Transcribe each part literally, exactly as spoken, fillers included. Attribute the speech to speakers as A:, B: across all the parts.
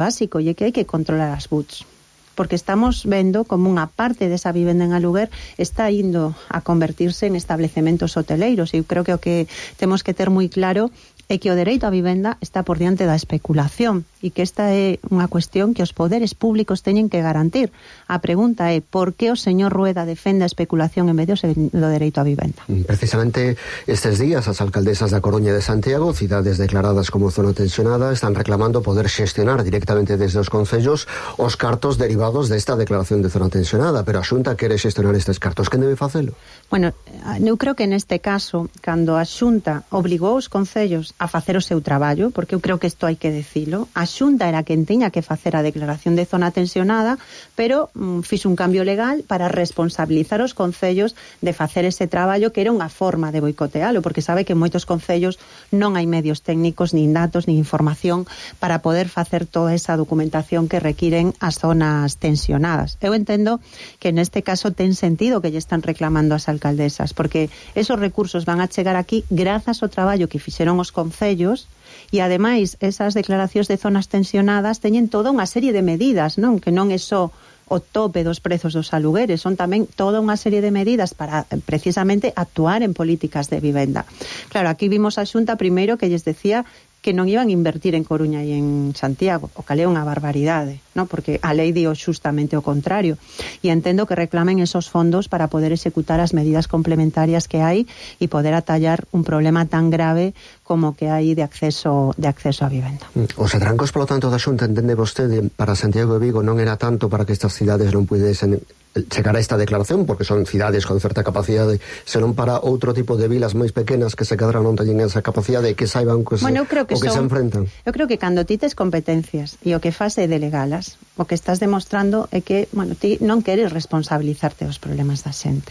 A: básico, e que hai que controlar as buts, porque estamos vendo como unha parte desa vivenda en aluguer está indo a convertirse en establecementos hoteleiros, e eu creo que o que temos que ter moi claro é que o dereito á vivenda está por diante da especulación e que esta é unha cuestión que os poderes públicos teñen que garantir. A pregunta é, por que o señor Rueda defende a especulación en medio do dereito á vivenda?
B: Precisamente estes días as alcaldesas da Coruña e de Santiago, cidades declaradas como zona tensionada, están reclamando poder xestionar directamente desde os concellos os cartos derivados desta declaración de zona tensionada, pero a Xunta quere xestionar estes cartos. Quen debe facelo?
A: Bueno, eu creo que neste caso, cando a Xunta obligou os concellos a facer o seu traballo, porque eu creo que isto hai que dicilo, a Xunta era quen tiña que facer a declaración de zona tensionada, pero mm, fixo un cambio legal para responsabilizar os concellos de facer ese traballo, que era unha forma de boicotealo, porque sabe que en moitos concellos non hai medios técnicos, nin datos, nin información para poder facer toda esa documentación que requiren as zonas tensionadas. Eu entendo que neste caso ten sentido que lle están reclamando as alcaldesas, porque esos recursos van a chegar aquí grazas ao traballo que fixeron os concellos concellos, e ademais esas declaracións de zonas tensionadas teñen toda unha serie de medidas, non? Que non é só o tope dos prezos dos alugueres, son tamén toda unha serie de medidas para precisamente actuar en políticas de vivenda. Claro, aquí vimos a Xunta primeiro que lles decía que non iban a invertir en Coruña e en Santiago, o cal é unha barbaridade, ¿no? Porque a lei dio xustamente o contrario, e entendo que reclamen esos fondos para poder executar as medidas complementarias que hai e poder atallar un problema tan grave como que hai de acceso de acceso á vivenda.
B: Os atrancos, polo tanto, da Xunta, entende vostede, para Santiago e Vigo non era tanto para que estas cidades non pudesen chegar a esta declaración, porque son cidades con certa capacidade, senón para outro tipo de vilas máis pequenas que se cadran non teñen esa capacidade, que saiban que se,
A: bueno, que
B: o que
A: son,
B: se enfrentan.
A: Eu creo que cando ti tes competencias e o que faz é delegalas, o que estás demostrando é que, bueno, ti non queres responsabilizarte dos problemas da xente.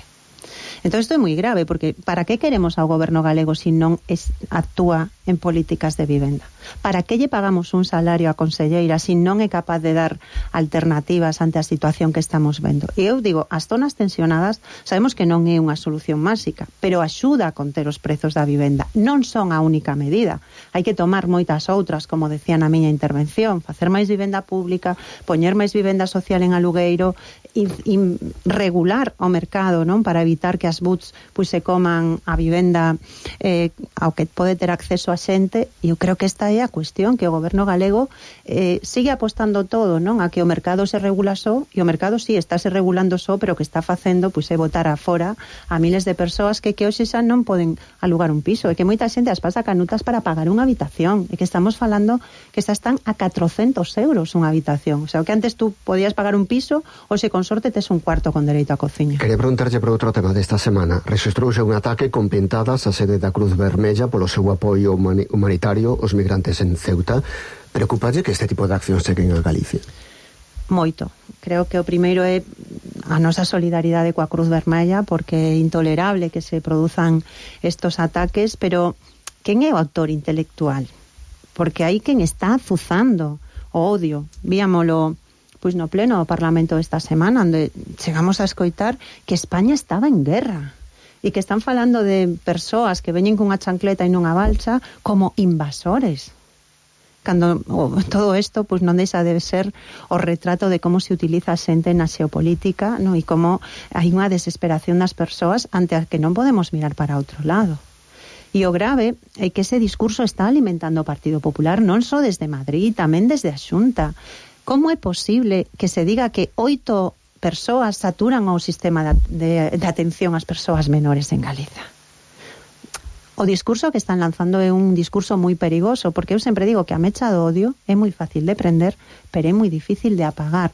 A: Entón isto é moi grave, porque para que queremos ao goberno galego se non es, actúa en políticas de vivenda? Para que lle pagamos un salario a conselleira se non é capaz de dar alternativas ante a situación que estamos vendo? E eu digo, as zonas tensionadas sabemos que non é unha solución máxica, pero axuda a conter os prezos da vivenda. Non son a única medida. Hai que tomar moitas outras, como decía na miña intervención, facer máis vivenda pública, poñer máis vivenda social en alugueiro, e, e regular o mercado, non, para evitar que as buts pois se coman a vivenda eh, ao que pode ter acceso a xente. E eu creo que esta é a cuestión, que o goberno galego eh, sigue apostando todo, non, a que o mercado se regula só, e o mercado sí, está se regulando só, pero o que está facendo pois é botar afora a miles de persoas que que hoxe xa non poden alugar un piso, e que moita xente as pasa canutas para pagar unha habitación, e que estamos falando que xa están a catrocentos euros unha habitación, o sea, que antes tú podías pagar un piso, hoxe con sorte tes un cuarto con dereito a cociña.
B: Quería preguntarlle por outro tema desta semana. Rexistrouse un ataque con pintadas a sede da Cruz Vermella polo seu apoio humani- humanitario aos migrantes en Ceuta. Preocupalle que este tipo de accións cheguen a Galicia?
A: Moito. Creo que o primeiro é a nosa solidaridade coa Cruz Vermella, porque é intolerable que se produzan estos ataques, pero quen é o autor intelectual? Porque hai quen está azuzando o odio. Víamolo pois no pleno do Parlamento esta semana, onde chegamos a escoitar que España estaba en guerra e que están falando de persoas que veñen cunha chancleta e nunha balsa como invasores. Cando oh, todo isto pois non deixa de ser o retrato de como se utiliza a xente na xeopolítica, no? E como hai unha desesperación das persoas ante a que non podemos mirar para outro lado. E o grave é que ese discurso está alimentando o Partido Popular non só desde Madrid, tamén desde a Xunta. Como é posible que se diga que oito persoas saturan o sistema de, de, de atención ás persoas menores en Galiza? O discurso que están lanzando é un discurso moi perigoso, porque eu sempre digo que a mecha do odio é moi fácil de prender, pero é moi difícil de apagar.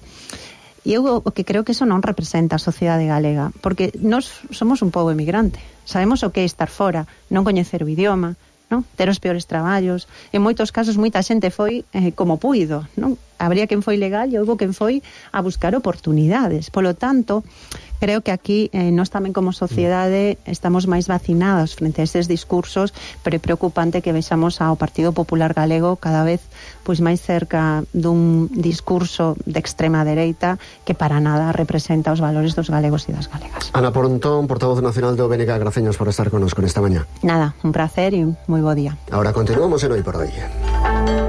A: E eu o que creo que eso non representa a sociedade galega, porque nós somos un pobo emigrante, sabemos o que é estar fora, non coñecer o idioma, non? Ter os peores traballos. En moitos casos moita xente foi eh, como puido, non? Habría quen foi legal e houbo quen foi a buscar oportunidades. Polo tanto, creo que aquí eh, nós tamén como sociedade estamos máis vacinados frente a eses discursos, pero é preocupante que vexamos ao Partido Popular Galego cada vez pois máis cerca dun discurso de extrema dereita que para nada representa os valores dos galegos e das galegas.
B: Ana Pontón, portavoz nacional do B N G, graciños por estar connosco nesta mañá.
A: Nada, un placer e moi bo día.
B: Ahora continuamos en Hoy por Hoy.